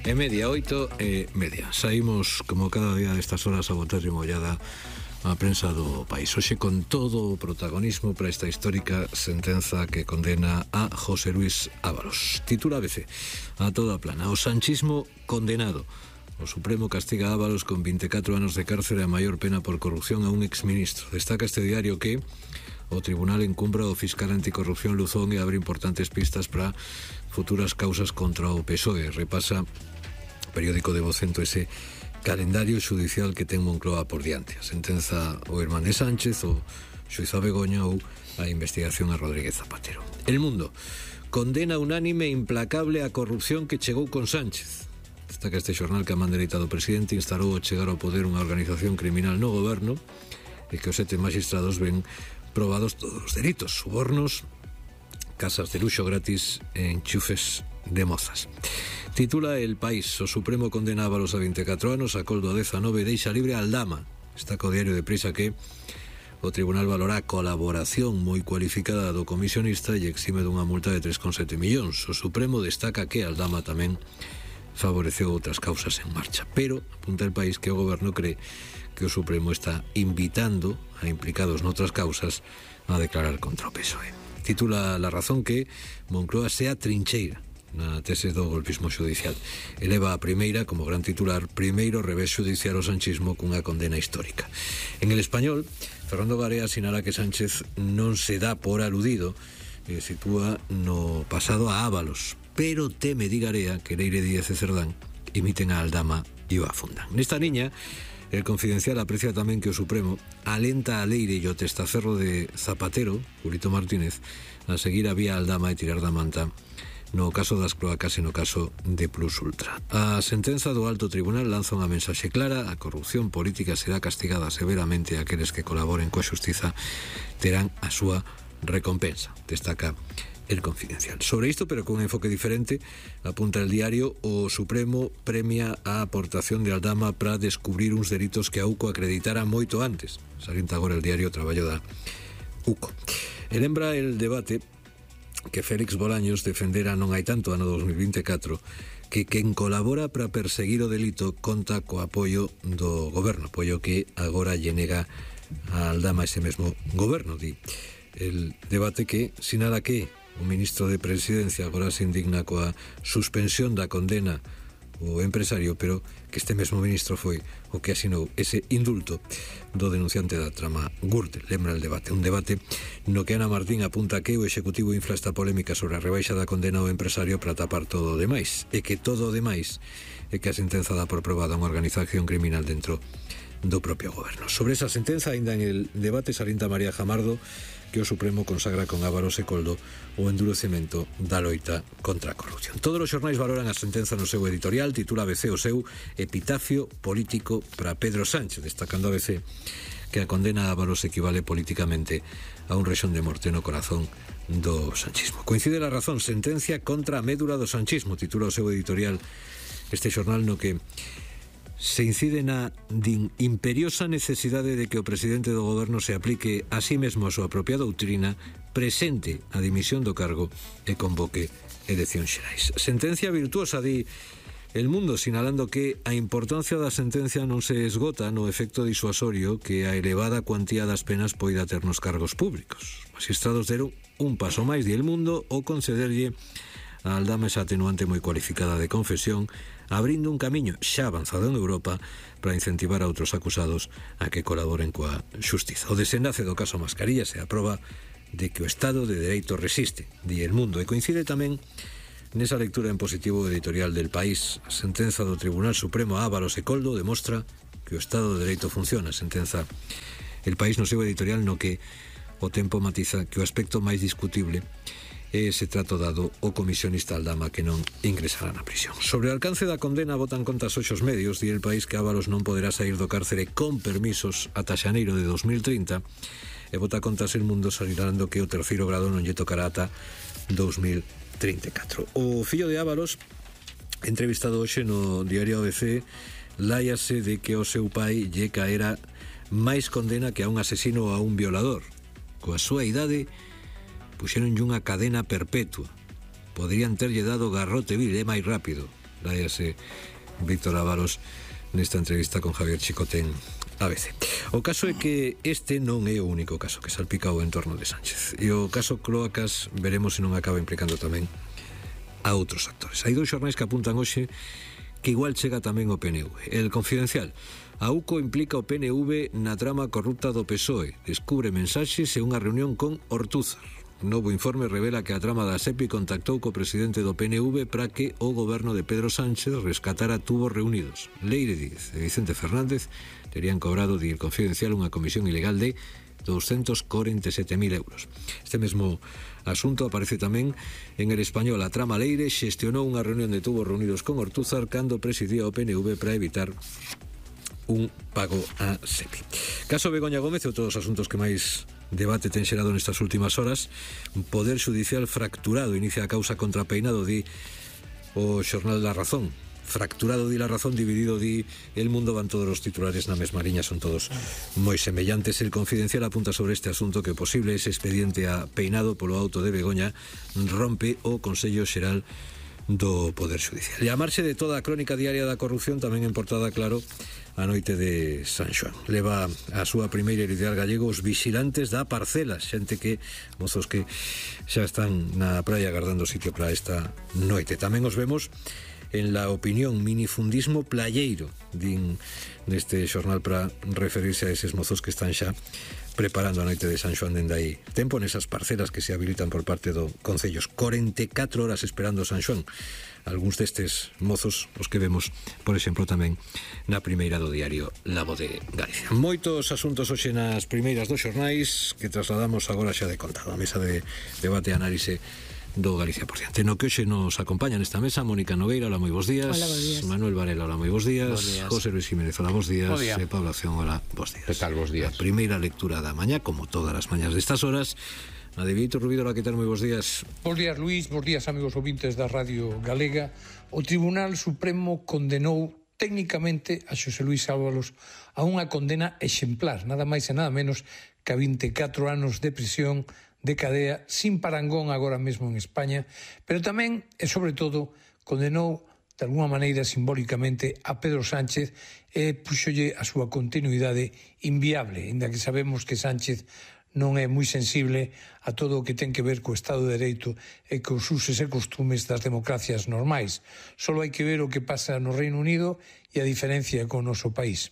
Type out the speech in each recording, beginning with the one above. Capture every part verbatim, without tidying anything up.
E media, oito e media. Saímos como cada día destas horas a botar de mollada a prensa do país. Hoxe con todo o protagonismo para esta histórica sentenza que condena a José Luis Ábalos. Titula A B C: a toda plana, o sanchismo condenado. O Supremo castiga a Ábalos con vinte e catro anos de cárcere a maior pena por corrupción a un exministro. Destaca este diario que o tribunal encumbra o fiscal anticorrupción Luzón e abre importantes pistas para futuras causas contra o P S O E. Repasa o periódico de Vocento ese calendario xudicial que ten Moncloa por diante. A sentenza o irmán de Sánchez, o xuízo a Begoña ou a investigación a Rodríguez Zapatero. El Mundo: condena unánime e implacable a corrupción que chegou con Sánchez. Destaca este xornal que a man dereita do presidente instalou ao chegar ao poder unha organización criminal no goberno e que os sete magistrados ven probados todos os delitos: subornos, casas de luxo gratis e enchufes de mozas. Titula El País: o Supremo condena a Ábalos a vinte e catro anos, a Coldo a dezanove e deixa libre a Aldama. Destaca o diario de Prisa que o tribunal valora a colaboración moi cualificada do comisionista e exime dunha multa de tres coma sete millóns. O Supremo destaca que Aldama tamén favoreceu outras causas en marcha, pero apunta El País que o goberno cree que o Supremo está invitando a implicados noutras causas a declarar contra o P S O E. Titula La Razón que Moncloa sea trincheira na tese do golpismo judicial. Eleva a primeira como gran titular: primeiro revés judicial ao sanchismo cunha condena histórica. En El Español, Fernando Garea sinala que Sánchez non se dá por aludido e sitúa no pasado a Ábalos, pero teme, di Garea, que Leire Díaz e Cerdán imiten a Aldama e o afundan. Nesta liña, El Confidencial aprecia tamén que o Supremo alenta a Leire e o testaferro de Zapatero, Julito Martínez, a seguir a vía Aldama e tirar da manta no caso das cloacas e no caso de Plus Ultra. A sentenza do Alto Tribunal lanza unha mensaxe clara: a corrupción política será castigada severamente e aqueles que colaboren coa xustiza terán a súa recompensa, destaca El Confidencial. Sobre isto, pero con un enfoque diferente, apunta el diario: o Supremo premia a aportación de Aldama para descubrir uns delitos que a U C O acreditara moito antes. Salienta agora el diario o traballo da U C O. E lembra el debate que Félix Bolaños defendera non hai tanto, ano dos mil vinte e catro, que quen colabora para perseguir o delito conta co apoio do goberno, apoio que agora lle nega a Aldama ese mesmo goberno. Di el debate que sinala que o ministro de Presidencia agora se indigna coa suspensión da condena o empresario, pero que este mesmo ministro foi o que asinou ese indulto do denunciante da trama Gürtel. Lembra el debate, un debate no que Ana Martín apunta que o Executivo infla esta polémica sobre a rebaixa da condena ao empresario para tapar todo o demais, e que todo o demais é que a sentenza dá por probada unha organización criminal dentro do propio goberno. Sobre esa sentenza, ainda en el debate, salienta María Jamardo que o Supremo consagra con Ábalos e Coldo o endurecemento da loita contra a corrupción. Todos os xornais valoran a sentenza no seu editorial. Titula A B C o seu epitafio político para Pedro Sánchez, destacando a B C que a condena a Ábalos equivale políticamente a un rexón de morte no corazón do sanchismo. Coincide La Razón: sentencia contra a médula do sanchismo, titula o seu editorial este xornal, no que se incide na din imperiosa necesidade de que o presidente do goberno se aplique a sí mesmo a súa propia doutrina, presente a dimisión do cargo e convoque eleccións xerais. Sentencia virtuosa, di El Mundo, sinalando que a importancia da sentencia non se esgota no efecto disuasorio que a elevada cuantía das penas poida ter nos cargos públicos. Os magistrados deron un paso máis, di El Mundo, o concederlle a Aldama esa atenuante moi cualificada de confesión, abrindo un camiño xa avanzado en Europa para incentivar a outros acusados a que colaboren coa xustiza. O desenlace do caso Mascarillas é a proba de que o Estado de Dereito resiste, di El Mundo, e coincide tamén nesa lectura en positivo editorial del País. A sentenza do Tribunal Supremo a Ábalos e Coldo demostra que o Estado de Dereito funciona. Sentenza El País no seu editorial, no que o tempo matiza que o aspecto máis discutible e ese trato dado o comisionista Aldama, que non ingresará na prisión. Sobre o alcance da condena botan contas hoxe os medios. Di El País que Ábalos non poderá sair do cárcere con permisos ata xaneiro de dos mil trinta e bota contas El Mundo sinalando que o terceiro grado non lle tocará ata dos mil trinta e catro. O fillo de Ábalos, entrevistado hoxe no diario A B C, láiase de que o seu pai lle caera máis condena que a un asesino ou a un violador. Coa súa idade puxeronlle unha cadena perpetua. Poderían terlle dado garrote vil, é máis rápido. expláyase Víctor Ávalos nesta entrevista con Javier Chicote en A B C. O caso é que este non é o único caso que salpica o entorno de Sánchez, e o caso Cloacas veremos se non acaba implicando tamén a outros actores. Hai dous xornais que apuntan hoxe que igual chega tamén o P N V. El Confidencial: a U C O implica o P N V na trama corrupta do P S O E, descubre mensaxes e unha reunión con Ortúzar. Un novo informe revela que a trama da SEPI contactou co presidente do P N V para que o goberno de Pedro Sánchez rescatara tubos reunidos. Leire Díez e Vicente Fernández terían cobrado, di El Confidencial, unha comisión ilegal de doscientos cuarenta y siete mil euros. Este mesmo asunto aparece tamén en El Español. A trama Leire xestionou unha reunión de tubos reunidos con Ortúzar cando presidía o P N V para evitar un pago a SEPI. Caso Begoña Gómez e outros asuntos que máis debate ten xerado nestas últimas horas. Poder Judicial fracturado inicia a causa contra Peinado, di o xornal La Razón. Fracturado, di La Razón, dividido, di El Mundo. Van todos os titulares na mesma liña, son todos moi semellantes. El Confidencial apunta sobre este asunto que o posible ese expediente a Peinado polo auto de Begoña rompe o Consello Xeral do Poder Judicial. E a marxe de toda a crónica diaria da corrupción, tamén en portada, claro, a noite de San Xoán. Leva a súa primeira editorial gallego Os Vixilantes da Parcela, xente que, mozos que xa están na praia agardando sitio para esta noite. Tamén os vemos en La Opinión, minifundismo playeiro, din neste xornal, para referirse a eses mozos que están xa preparando a noite de San Xoán dende aí tempo nesas parcelas que se habilitan por parte do Concellos. corenta e catro horas esperando San Xoán. Algúns destes mozos os que vemos, por exemplo, tamén na primeira do diario La Voz de Galicia. Moitos asuntos hoxe nas primeiras dos xornais que trasladamos agora xa de contado a mesa de debate e análise do Galicia por diante. No que hoxe nos acompaña nesta mesa Mónica Nogueira, hola, moi bons días. Hola, bons días. Manuel Varela, hola, moi bons días. Bos días. José Luis Jiménez, hola, bons días. Bos días. E Pablo Acción, hola, bons días. Que tal, bos días? A primeira lectura da mañá, como todas as mañás destas horas, a de Vítor Rubido, hola, que tal, moi bons días. Bos días, Luís, bos días, amigos ouvintes da Radio Galega. O Tribunal Supremo condenou técnicamente a Xosé Luís Ábalos a unha condena exemplar, nada máis e nada menos que a vinte e catro anos de prisión de cadea sin parangón agora mesmo en España, pero tamén e sobre todo condenou de alguma maneira simbólicamente a Pedro Sánchez e puxolle a súa continuidade inviable, inda que sabemos que Sánchez non é moi sensible a todo o que ten que ver co Estado de Dereito e cos usos e costumes das democracias normais. Solo hai que ver o que pasa no Reino Unido e a diferencia co noso país.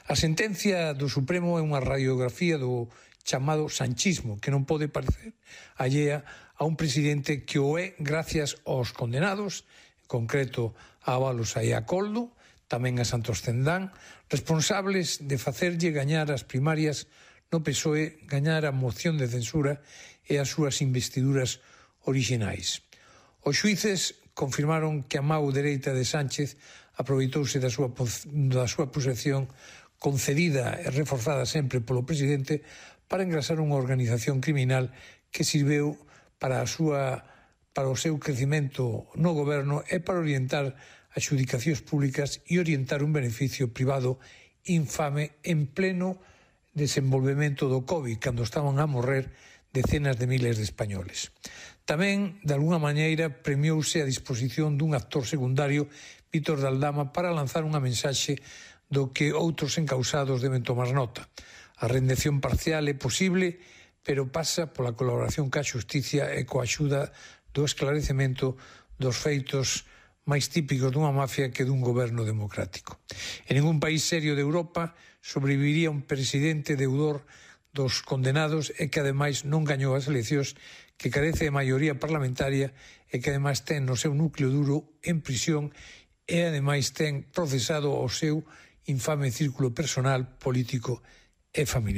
A sentencia do Supremo é unha radiografía do chamado sanchismo, que non pode parecer allea a un presidente que o é gracias aos condenados, en concreto a Ábalos e a Coldo, tamén a Santos Cendán, responsables de facerlle gañar as primarias no P S O E, gañar a moción de censura e as súas investiduras orixinais. Os xuíces confirmaron que a mau dereita de Sánchez aproveitouse da súa, da súa posesión concedida e reforzada sempre polo presidente para engrasar unha organización criminal que sirveu para a súa para o seu crecimento no goberno e para orientar as xudicacións públicas e orientar un beneficio privado infame en pleno desenvolvemento do COVID, cando estaban a morrer decenas de miles de españoles. Tamén, de alguna maneira, premiouse a disposición dun actor secundario, Vítor de Aldama, para lanzar unha mensaxe do que outros encausados deben tomar nota. A rendición parcial é posible, pero pasa pola colaboración ca xusticia e coa axuda do esclarecemento dos feitos máis típicos dunha mafia que dun goberno democrático. En ningún país serio de Europa sobreviviría un presidente deudor dos condenados e que ademais non gañou as eleccións, que carece de maioría parlamentaria e que ademais ten no seu núcleo duro en prisión e ademais ten procesado o seu infame círculo personal, político e familiar.